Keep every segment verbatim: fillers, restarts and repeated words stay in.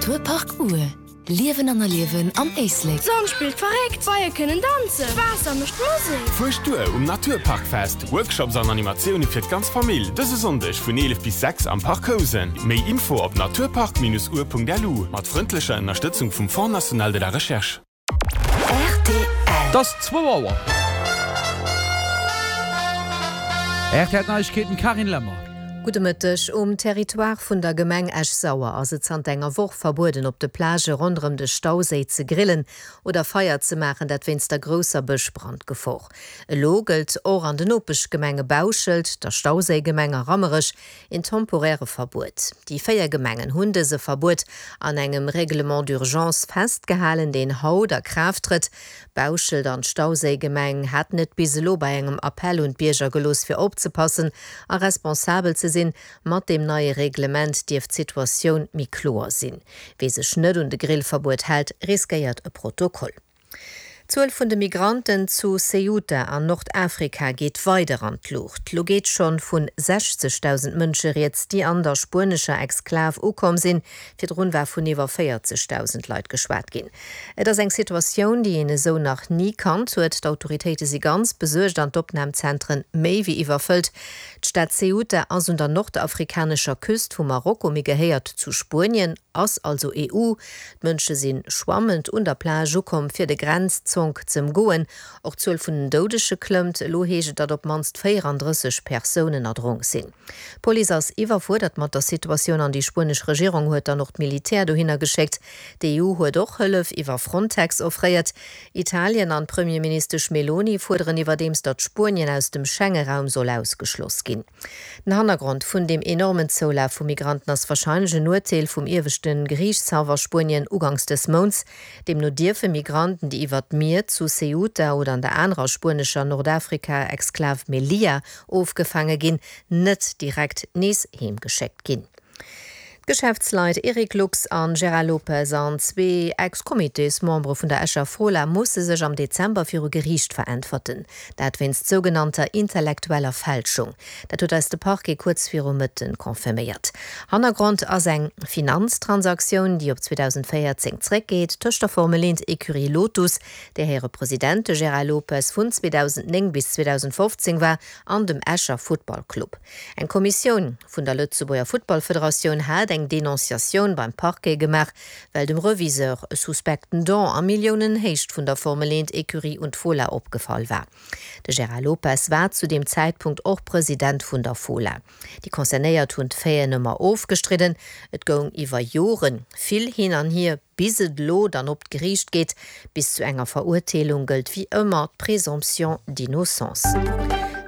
Naturpark Our, Liewen an erliewen am Éislek. D'Sonn spillt verréckt, d'Beie kënnen danzen, d'Waasser mécht Musek. Fuerscht duer um Naturparkfest, Workshops an Animatioune fir d'ganz Famill, dëse Sonndeg vun eelef bis sechs am Parc Housen. Méi Info op naturpark-our.lu mat frëndlecher Ënnerstëtzung vum Fonds national de la recherche. Et ass zwou Auer. R T L Neiegkeeten, Carine Lemmer. Gudde Mëtteg. Um Territoire vun der Gemeng Esch-Sauer ass et zanter enger Woch verbueden, op de Plagë ronderëm de Stauséi ze grillen oder Feier ze maachen, dat wéinst der grousser Bëschbrandgefor. Elo gëllt och an den Nopeschgemenge Bauschelt, der Stauséigemeng a Rammerech een temporäre Verbuet. Déi véier Gemengen hunn dëse Verbuet an engem Règlement d'urgence festgehalen, deen haut a Kraaft trëtt. Bauschelt an d'Stauséigemeng haten et bis elo bei engem Appell un d'Bierger gelooss, fir opzepassen a responsabel ze sinn. Mat deem neie Reglement dierft d'Situatioun méi kloer sinn. Wie sech net un de Grillverbuet hält, riskéiert e Protokoll. D'Zuel vun de Migranten zu Ceuta an Nordafrika geet weider an d'Luucht. Lo geet schonn vun sechzegdausend Mënsche rieds, déi an der spuenescher Exklav ukomm sinn. Virdrun war vun iwwer véierzegdausend Leit geschwat ginn. Et ass eng Situatioun, déi een esou nach ni kannt huet. D'autoritéite si ganz besuergt an d'Opnamzentren méi wéi iwwerfëllt. D'Stad Ceuta ass un der nordafrikanescher Küst vu Marokko, mee gehéiert zu Spuenien, ass also E U. D'Mënsche si schwammend un der Plage ukomm, fir de Grenzzonk z'ëmgoen. Och d'Zuel vun den Doudege klëmmt. Elo heescht et, datt op d'mannst véierandrësseg Persounen erdronk sinn. D'Police ass iwwerfuerdert mat der Situatioun an déi spuenesch Regierung huet dann och d'Militär dohinner geschéckt. D'E U huet och Hëllef iwwer Frontex offréiert. Italien an d'Premierministesch Meloni fuerderen iwwerdeems, datt Spuenien aus dem Schengeraum soll ausgeschloss ginn. Den Hannergrond vun deem enormen Zoulaf vu Migranten ass warscheinlech en Urteel vum ieweschte Geriichtshaff a Spuenien ugangs des Mounts. Deemno dierfe Migranten, déi iwwer d'Mier zu Ceuta oder an der anerer spuenescher Nordafrika-Exklav Melilla ofgefaange ginn, net direkt nees heemgeschéckt ginn. D'Geschäftsleit Eric Lux an Gérard Lopez an zwee Ex-Comitésmembere vun der Escher Fola musse sech am Dezember viru Geriicht veräntwerten. Dat wéinst sougenannter intellektueller Fälschung. Dat huet eis de Parquet kuerz viru Mëtten confirméiert. Hannergrond ass eng Finanztransaktioun, déi op zweedausendvéierzéng zréckgeet, tëscht der Formel eent Ecurie Lotus, där hire President de Gérard Lopez vun zweedausendnéng bis zweedausendfofzéng war, an dem Escher Futtballclub. Eng Kommissioun vun der Lëtzebuerger Futtballfederatioun hat eng Denonciatioun beim Parquet gemaach, well dem Reviseur e suspekten Don a Milliounenhéicht vun der Formel eent Ecurie un d'Fola opgefall war. De Gérard Lopez war zu deem Zäitpunkt och President vun der Fola. Déi Concernéiert hunn d'Faiten ëmmer ofgestridden. Et goung iwwer Jore vill hin an hier, bis et elo dann op d'Geriicht geet. Bis zu enger Verurteelung gëllt wéi ëmmer d'Présomption d'innocence.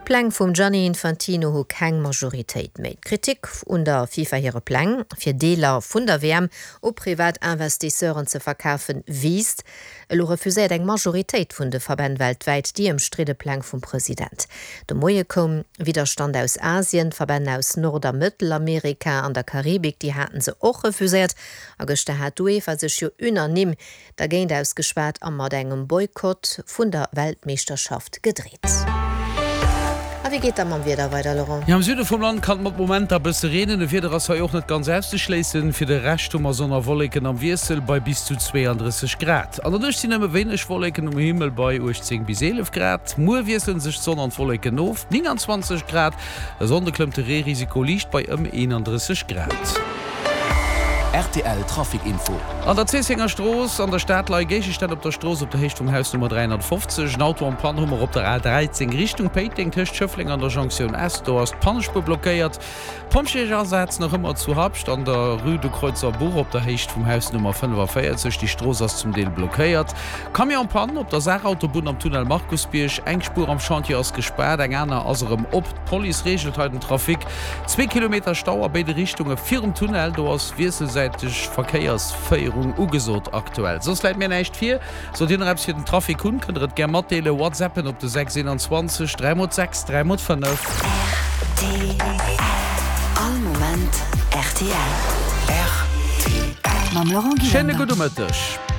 D'Pläng vum Gianni Infantino hu keng Majoritéit méi. D'Kritik un der FIFA hire Pläng, fir Deeler vun der W M u privat Investisseuren ze verkafen, wiisst. Elo refuséiert eng Majoritéit vun de Verbänn weltwäit déi ëmstridde Pläng vum President. De Moie koum Widderstand aus Asien, Verbänn aus Nord a Mëttelamerika an der Karibik, déi hate se och refuséiert. A gëschter hat d'UEFA sech jo unanime dergéint ausgeschwat a mat engem Boykott vun der Weltmeeschterschaft gedreet. A wéi geet da mam Wieder weider, Laurent? Jo, am Süde vum Land kann et mat Momenter e bësse reenen. E Wieder ass hei och net ganz auszeschléissen. Fir de Rescht hu mer Sonn a Wolleken am Wiessel bei bis zu zweeandrësseg Grad. An der Nuecht sinn nëmme wéineg Wolleken um Himmel bei uechtzéng bis eelef Grad. Muer wiessele sech d'Sonn an d'Wolleken of, nénganzwanzeg Grad. E Sonnde klëmmt de Reerisiko liicht bei ëm eenandrësseg Grad. R T L Trafic Info. An der Zéissenger Strooss an der Stad leie Géigestänn op der Strooss op der Héicht vum Haus Nummer dräihonnertfofzeg. En Auto en panne hu mer op der A dräizéng Richtung Péiteng tëscht Schëffleng an der Jonktioun S. Do ass d'Pannespuer blockéiert. Pompjeesasaz nach ëmmer zu Habscht an der Rue de Kreuzerbuch op der Héicht vum Haus Nummer fënnefavéierzeg. Déi Strooss ass zum Deel blockéiert. Camion en panne op der Saarautobunn am Tunnel Markusbierg. Eng Spuer am Chantier ass gespaart, eng aner ass erëm op. D'Police reegelt hei den Trafic. Zwee Kilometer Stau a béide Richtunge virum Tunnel. Do ass wiesselsäiteg Verkéiersféierung ugesot aktuell. Soss läit mir näischt vir. Sollt Dir nach eppes fir den Trafic hunn, kënnt der et gär matdeelen. Whatsappen op de sechs eenanzwanzeg dräi mol sechs dräi mol fënnef. R T L. All Moment R T L. R T L. Mam Laurent Schéine Gillander. gudde Mëtteg.